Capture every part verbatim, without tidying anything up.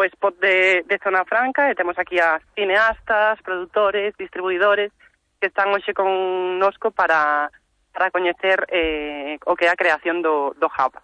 o spot de, de Zona Franca, e temos aquí a cineastas, produtores, distribuidores que están hoxe connosco para, para coñecer eh, o que é a creación do, do Hub.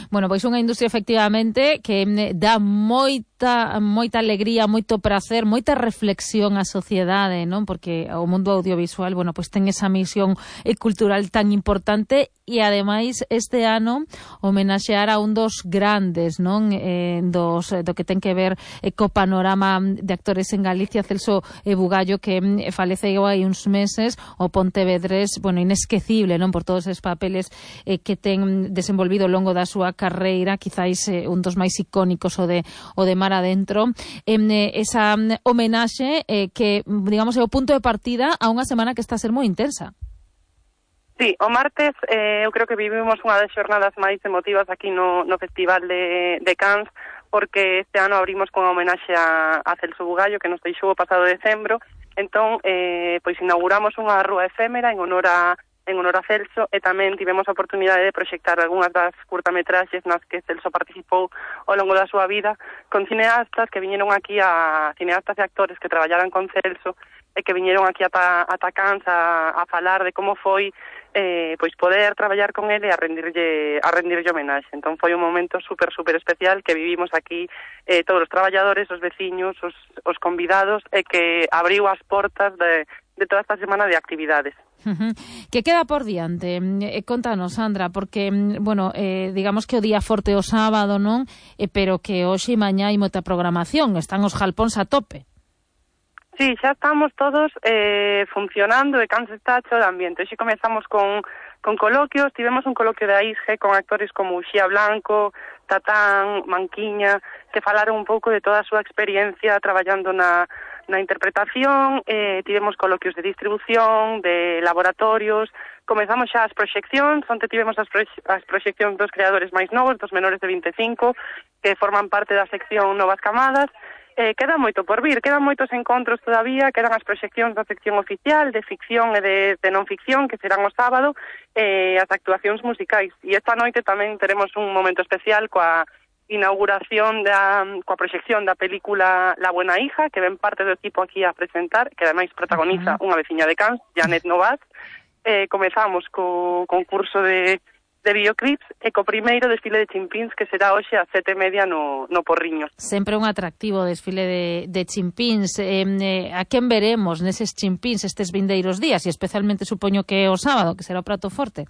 Bueno, pois unha industria efectivamente que dá moita moita alegría, moito prazer, moita reflexión á sociedade, non? Porque o mundo audiovisual, bueno, pois ten esa misión cultural tan importante e ademais este ano homenaxear a un dos grandes, non? Eh, dos do que ten que ver eh, co panorama de actores en Galicia, Celso eh, Bugallo, que eh, faleceu hai uns meses, o pontevedrés, bueno, inesquecible, non? Por todos esos papeles eh, que ten desenvolvido ao longo da súa carreira, quizáis eh, un dos máis icónicos o de o de Mar Adentro. Eh, esa homenaxe eh, que, digamos, é o punto de partida a unha semana que está a ser moi intensa. Sí, o martes eh, eu creo que vivimos unha das xornadas máis emotivas aquí no, no Festival de, de Cannes, porque este ano abrimos con a homenaxe a, a Celso Bugallo, que nos deixou o pasado decembro. Entón, eh, pois inauguramos unha rúa efémera en honor a en honor a Celso, e tamén tivemos a oportunidade de proxectar algunhas das curtametraxes nas que Celso participou ao longo da súa vida, con cineastas que viñeron aquí, a cineastas e actores que traballaran con Celso, e que viñeron aquí ata, ata Cannes a, a falar de como foi eh, pois poder traballar con ele e a rendirlle, a rendirlle homenaxe. Entón foi un momento super, super especial que vivimos aquí eh, todos os traballadores, os veciños, os, os convidados, e que abriu as portas de, de toda esta semana de actividades. Uh-huh. Que queda por diante? Eh, contanos, Sandra, porque, bueno, eh, digamos que o día forte o sábado, non? Eh, pero que hoxe e mañá hai moita programación, están os jalpóns a tope. Sí, xa estamos todos eh, funcionando e Cannes está hecho de ambiente. Hoxe comezamos con, con coloquios, tivemos un coloquio de A I S G con actores como Uxía Blanco, Tatán, Manquiña, que falaron un pouco de toda a súa experiencia traballando na na interpretación, eh, tivemos coloquios de distribución, de laboratorios, comezamos xa as proxeccións, onte tivemos as, proxe as proxeccións dos creadores máis novos, dos menores de vinte e cinco, que forman parte da sección Novas Camadas. Eh, queda moito por vir, quedan moitos encontros todavía, quedan as proxeccións da sección oficial, de ficción e de, de non ficción, que serán o sábado, e eh, as actuacións musicais. E esta noite tamén teremos un momento especial coa inauguración da, coa proxección da película La Buena Hija, que ven parte do equipo aquí a presentar, que ademais protagoniza uh-huh. unha veciña de Cannes, Janet Novas. Eh, comezamos co concurso de, de videoclips e co primeiro desfile de chimpíns, que será hoxe a sete e media no, no Porriño. Sempre un atractivo desfile de, de chimpíns. Eh, eh, a quen veremos neses chimpíns estes vindeiros días, e especialmente supoño que o sábado, que será o prato forte?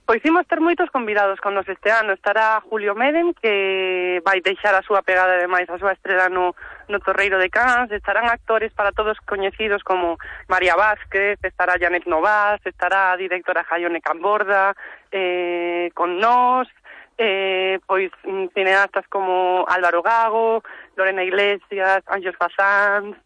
Pois imos ter moitos convidados con nos este ano. Estará Julio Meden, que vai deixar a súa pegada, ademais, a súa estrela no, no Torreiro de Cannes. Estarán actores para todos coñecidos como María Vázquez, estará Janet Novas, estará a directora Jaione Camborda, eh, con nós, eh, pois cineastas como Álvaro Gago, Lorena Iglesias, Ángeles Fasanz...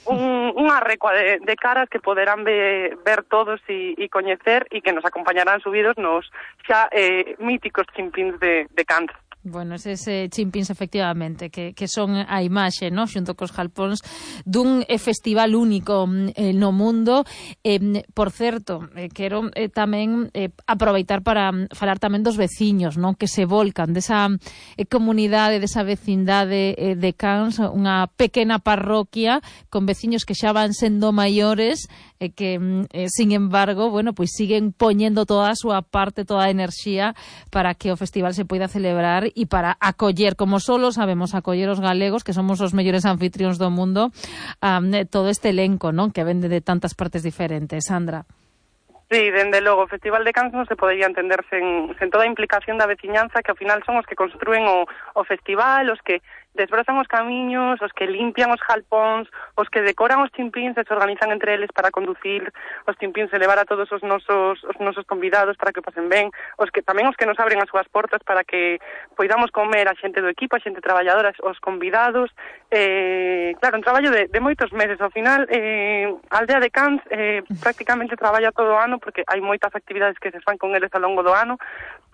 Un, unha recua de, de caras que poderán ver, ver todos e, e coñecer, e que nos acompañarán subidos nos xa eh, míticos chimpíns de, de Cannes. Bueno, eses eh, chimpíns, efectivamente, que, que son a imaxe, no? Xunto cos jalpóns dun eh, festival único eh, no mundo. Eh, por certo, eh, quero eh, tamén eh, aproveitar para falar tamén dos veciños, non? Que se volcan desa eh, comunidade, desa vecindade eh, de Cannes, unha pequena parroquia con veciños que xa van sendo maiores, e eh, que, eh, sin embargo, bueno, pois siguen poñendo toda a súa parte, toda a enerxía para que o festival se poida celebrar e para acoller, como solo sabemos acoller os galegos, que somos os mellores anfitrións do mundo, um, todo este elenco, non? Que vende de tantas partes diferentes. Sandra. Sí, dende logo, o Festival de Cannes non se podería entender sen, sen toda a implicación da veciñanza, que ao final son os que construen o, o festival, os que desbrozan os camiños, os que limpian os jalpóns, os que decoran os chimpíns e se organizan entre eles para conducir os chimpíns e levar a todos os nosos, os nosos convidados para que pasen ben, os que tamén os que nos abren as súas portas para que poidamos comer a xente do equipo, a xente traballadora, os convidados. Eh, claro, un traballo de, de moitos meses. Ao final, eh, a aldea de Cannes eh, prácticamente traballa todo o ano, porque hai moitas actividades que se fan con eles ao longo do ano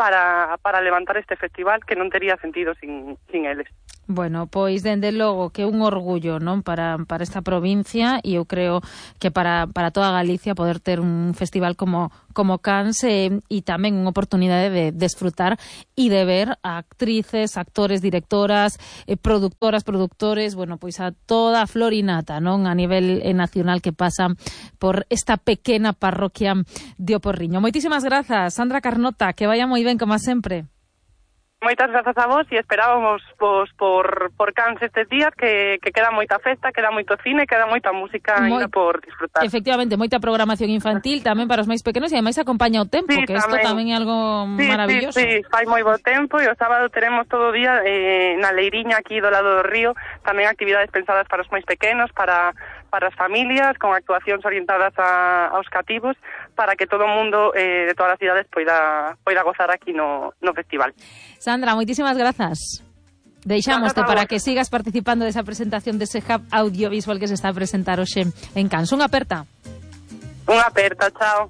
para, para levantar este festival que non tería sentido sin, sin eles. Bueno, pois dende logo que un orgullo, non, para, para esta provincia, e eu creo que para, para toda Galicia poder ter un festival como como Cans e eh, tamén unha oportunidade de desfrutar e de ver a actrices, actores, directoras, eh, productoras, productores, bueno, pois a toda a florinata, non, a nivel eh, nacional que pasa por esta pequena parroquia de Oporriño. Moitísimas grazas, Sandra Carnota, que vaya moi ben como sempre. Moitas grazas a vos e esperábamos vos por, por Cans estes días que, que queda moita festa, queda moito cine, queda moita música Moi, ainda por disfrutar. Efectivamente, moita programación infantil tamén para os máis pequenos e ademais acompaña o tempo, sí, que isto tamén. tamén é algo sí, maravilloso. Sí, sí, fai moi bo tempo e o sábado teremos todo o día eh, na leiriña aquí do lado do río, tamén actividades pensadas para os máis pequenos, para para as familias, con actuacións orientadas a, aos cativos, para que todo o mundo eh, de todas as cidades poida, poida gozar aquí no, no festival. Sandra, moitísimas grazas. Deixámoste para que sigas participando desa presentación dese hub audiovisual que se está a presentar hoxe en Cans. Unha aperta. Unha aperta, chao.